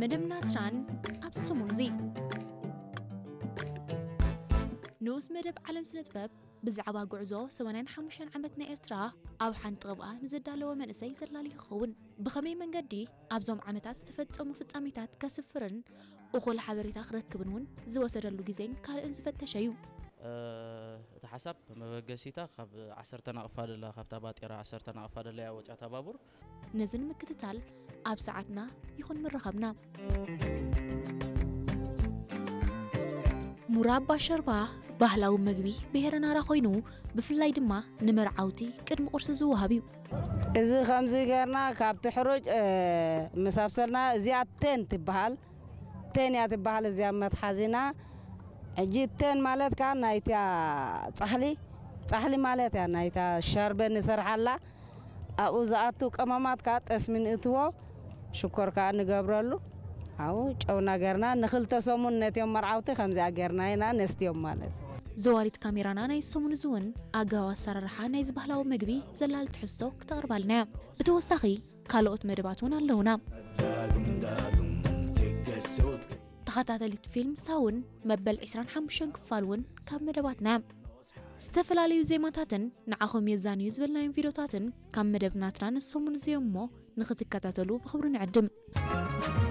መደብ ናትራን ኣብ ሰሙን እዚ ንኡስ መደብ ዓለም ስነ ጥበብ ብዛዕባ ጉዕዞ ሰማንያን ሓሙሽተን ዓመት ናይ ኤርትራ ኣብ ሓንቲ ቅብኣ ንዘዳለወ መንእሰይ ዘላሊ ይኸውን። ብኸመይ መንገዲ ኣብዞም ዓመታት ዝተፈጸሙ ፍጻሜታት ከስፍርን እኹል ሓበሬታ ክረክብን እውን ዝወሰደሉ ግዜን ካልእን ዝፈተሸ እዩ። እቲ ሓሳብ መበገሲታ ካብ ዓሰርተ ናቕፋ ደላ ካብታ ባጤራ ዓሰርተ ናቕፋ ደላ እያ ወፂኣታ ባቡር። ነዚ ንምክትታል ኣብ ሰዓትና ይኹን ምርኻብና። ሙራባ ሸርባ ባህላዊ መግቢ ብሄረ ናራ ኮይኑ ብፍላይ ድማ ንመርዓውቲ ቅድሚ ቁርሲ ዝወሃብ እዩ። እዚ ከምዚ ገርና ካብቲ ሕሩጭ ምስ ኣብሰልና እዚኣ ቴን ትበሃል። ቴን እያ ትበሃል እዚኣ መትሓዚና። ሕጂ ቴን ማለት ከዓ ናይታ ፃሕሊ ፃሕሊ ማለት እያ ናይታ ሸርበ ንሰርሓላ። ኣብኡ ዝኣቱ ቀመማት ከዓ ጠስሚ ንእትዎ ሽኮር ከዓ ንገብረሉ። ኣብኡ ጨውና ገርና ንክልተ ሰሙን ነትዮም መርዓውቲ ከምዚኣ ገርና ኢና ነስትዮም ማለት። ዘዋሪት ካሜራና ናይ ሰሙን እዚ እውን ኣገባብ ኣሰራርሓ ናይዚ ባህላዊ መግቢ ዘላሊ ትሕዝቶ ክተቕርባልና እያ። ብተወሳኺ ካልኦት መደባት እውን ኣለውና። ተኸታተሊት ፊልም ሳውን መበል ዕስራን ሓሙሽተን ክፋል እውን ካብ መደባትና እያ። ዝተፈላለዩ ዜማታትን ንዓኹም የዛንዩ ዝበልናዮም ቪድዮታትን ካብ መደብ ናትና ንሰሙን እዚ እዮም እሞ ንኽትከታተሉ ብኽብሪ ንዕድም።